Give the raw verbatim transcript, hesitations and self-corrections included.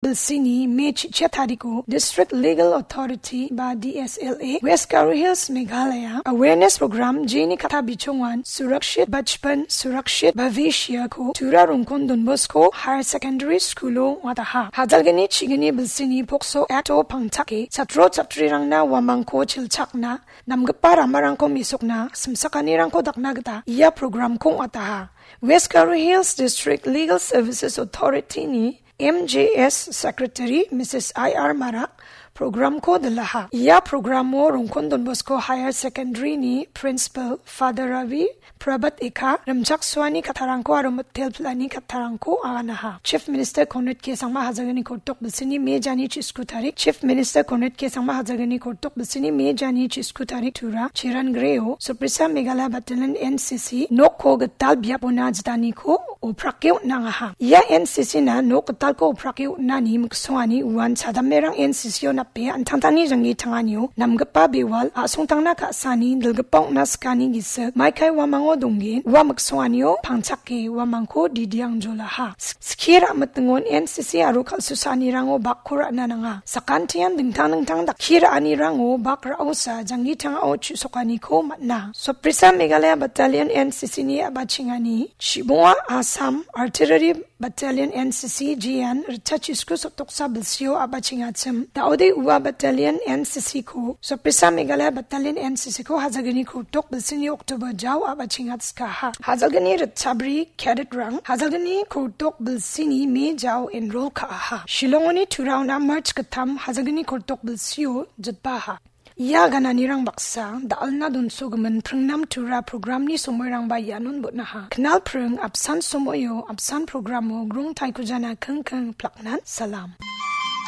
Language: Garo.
bilsini Me chichia tariko District Legal Authority ba D S L A, West Garo Hills, Meghalaya Awareness Program jeni katta bichongan Surakshit Bachpan Surakshit Bhavishya ko Tura Rongkon Don Bosco Higher Secondary School-o ong·ataha. Hajalgni chigni bilsini Pokso Act-o pangchake chatro chatrirangna uamangko chilchakna, namgipa ramarangko mesokna, simsakanirangko dakna gita ia program-ko ong·ataha. West Garo Hills District Legal Services Authority-ni M J S Secretary Missus I R Marak program-ko dilaha. Ia program-o Rongkon Don Bosco Higher Secondary-ni Principal Father Ravi Prabhat Ekha, rimchaksoani kattarangko aro mitel pil·ani kattarangko aganaha. Chief Minister Conrad K Sangma hajalgni koltok bilsini Me jani chisku tarik. Chief Minister Conrad K Sangma hajalgni koltok bilsini Me jani chisku tarik Tura Chiran Greo, Soprisa Meghalaya Battalion N C C, nokko gital biapona jitaniko oprake on·angaha. Ia N C C-na nok gitalko oprake on·ani miksongani uan chadamerang N C C-o nape an·tangtangni janggi tanganio namgipa bewal a·songtangna ka·sani dilgipa ong·na sikani gisik maikai uamango donggen ua miksonganio pangchake uamangko didiangjolaha. Skie ra·mitingon N C C aro kal·susaanirango bakko ra·na nanga. Sakantian dingtang dingtang dakki ra·anirango bak ra·osa janggi tangao chu·sokaniko man·a. Soprisa Meghalaya Battalion N C C-ni a·bachengani Shibunga Assam Artillery Battalion N C C G N ritchachisku sotoksa bilsio a·bachengachim. Daode ua Battalion N C C-ko, Soprisa Meghalaya Battalion N C C-ko hajalgni koltok bilsini October jao a·bachengatskaha. Hajalgni ritchabri cadet-rang hajalgni koltok bilsini Me jao enroll ka·aha. Shillongoni Turaona March gittam hajalgni koltok bilsio jitbaha. Ia gananirang baksa, da·alna donsogimin pringnam Tura programni somoirangba ianon bon·aha. Knal pring apsan somoio, apsan programo grong taikujana kingking plaknan salam.